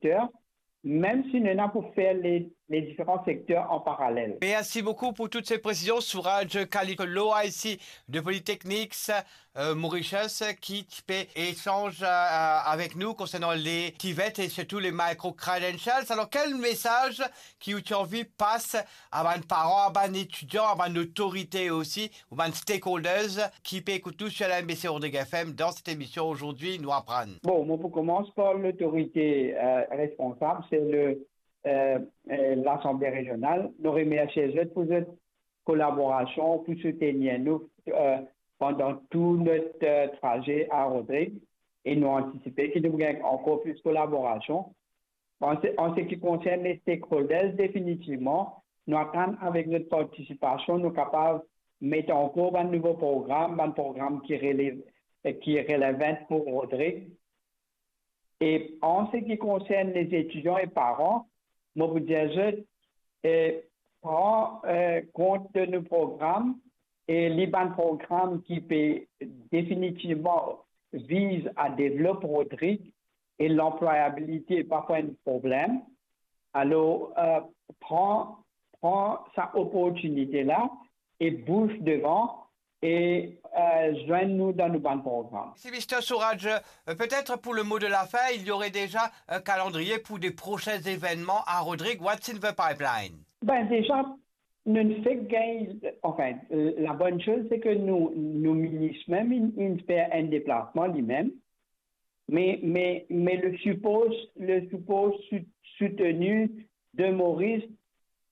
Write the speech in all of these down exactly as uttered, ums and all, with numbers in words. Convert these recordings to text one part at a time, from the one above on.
sekter, mem si nou ena pou fer le, le diferan sekter an paralel. Merci beaucoup pour toutes ces précisions. Souraj Kalitchan, l'O I C de Polytechnics, euh, Mauritius, ki ti pe echanz, euh, avek nou konsernan le TVET e sirtou le micro credentials. Alor, kel mesaz ki ou ti anvi pas a bann paran, a bann etidian, a bann otorite osi, ou bann stakeholders ki pe ekout nou sur la M B C Rodrigue F M dans cette émission Aujourd'hui nous apprend. Bon, mo pou koumans par lotorite, euh, responsab, se le, euh, euh, Lasanble Rezional. Nou remersie zot pou zot kolaborasion, pou soutenir nou, euh, pandan tou not, euh, traze a Rodrig, e nou antisipe ki nou pou gagn ankor plis kolaborasion. An se, an se ki konsern le stakeholders, definitivman, nou atann avek zot partisipasion, nou kapav met ankor bann nouvo program, bann program ki relev, ki relevan pou Rodrig. E an se ki konsern lezetidian e paran, mo pou dir zot, eh, pran, eh, kont de nou program, e li bann program ki pe definitivman viz a devlop Rodrig e lanplwayabilite pa pou enn problem. Alor, eh, pran, pran sa oportinite la e bouz devan e, eh, zwenn nou dan nou bann program. Si, mister Souraj, euh, peut-être pour le mot de la fin, il y aurait déjà un calendrier pour des prochains événements à Rodrigue. What's in the pipeline? Ben, deza, nou fek gagn, anfin, la bonn soz, se ke nou, nou minis mem, inn, inn fer enn deplasman li mem. Me, me, me le sipor, le sipor sou-, soutenu de Moris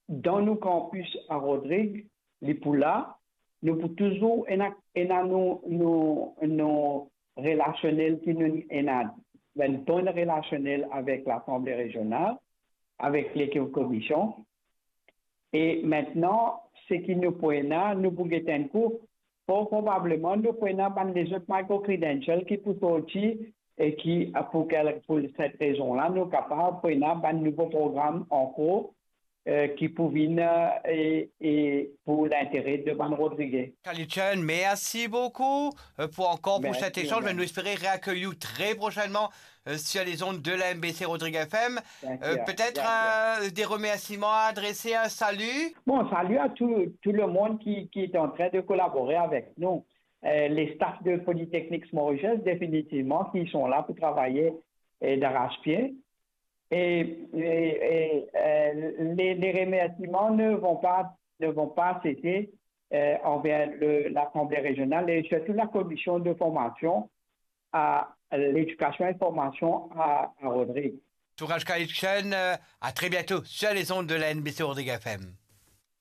dan nou kanpis a Rodrig, li pou la. Nou pou touzour ena, ena nou, nou, nou relasionel ki nou ena, enn bon relasionel avek Lasanble Rezional, avek lekip komision. E mintnan, seki nou pou ena, nou pou get enn kou, for probableman, nou pou ena bann lezot micro credential ki pou sorti e ki, pou kel, pou set rezon la, nou kapav pou ena bann nouvo program ankor, eh, ki pou vinn, eh, e, e pou lintere de bann Rodrige. Kalitchan, merci beaucoup, euh, pour encore pour cet échange. Merci, merci. Nou espere reakeyi ou très prochainement euh, sur les ondes de la M B C Rodrigue F M. Bien sûr, bien sûr. Euh, peut-être, euh, des remerciements à adresser, un salut ? Bon, salut à tout, tout le monde qui, qui est en train de collaborer avec nous. Euh, les staffs de Polytechnics Mauritius, définitivement, qui sont là pour travailler, euh, d'arrache-pied. Et, et, et, euh, les, les remerciements ne vont pas, ne vont pas cesser, euh, envers le, l'Assemblée régionale et surtout la commission de formation à l'éducation et formation à, à Rodrigue. Souraj Kalitchan, euh, à très bientôt sur les ondes de la N B C Rodrigue F M.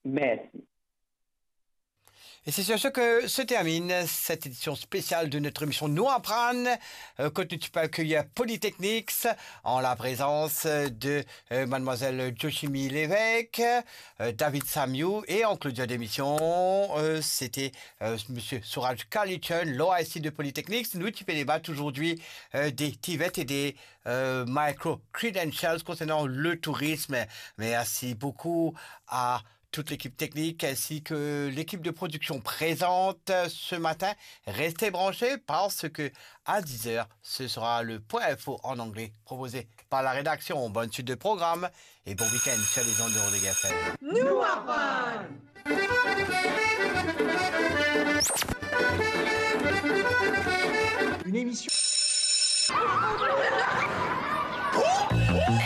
Merci. Et c'est sur ce que se termine cette édition spéciale de notre émission Nou Aprann, euh, kot nou ti pe akeyi Polytechnics, en la présence de euh, mademoiselle Joshimi Lévesque, euh, David Samiou et en clôture d'émission, euh, c'était, euh, monsieur Souraj Kalitchan, l'O I C de Polytechnics. Nou ti pe debat aujourd'hui, euh, des TVET et des, euh, micro credentials concernant le tourisme. Merci beaucoup à toute l'équipe technique ainsi que l'équipe de production présente ce matin. Restez branchés parce que à dix heures, ce sera le point info en anglais proposé par la rédaction. Bonne suite de programme et bon week-end sur les ondes de Rodrigue F M. Nou Aprann. Une émission.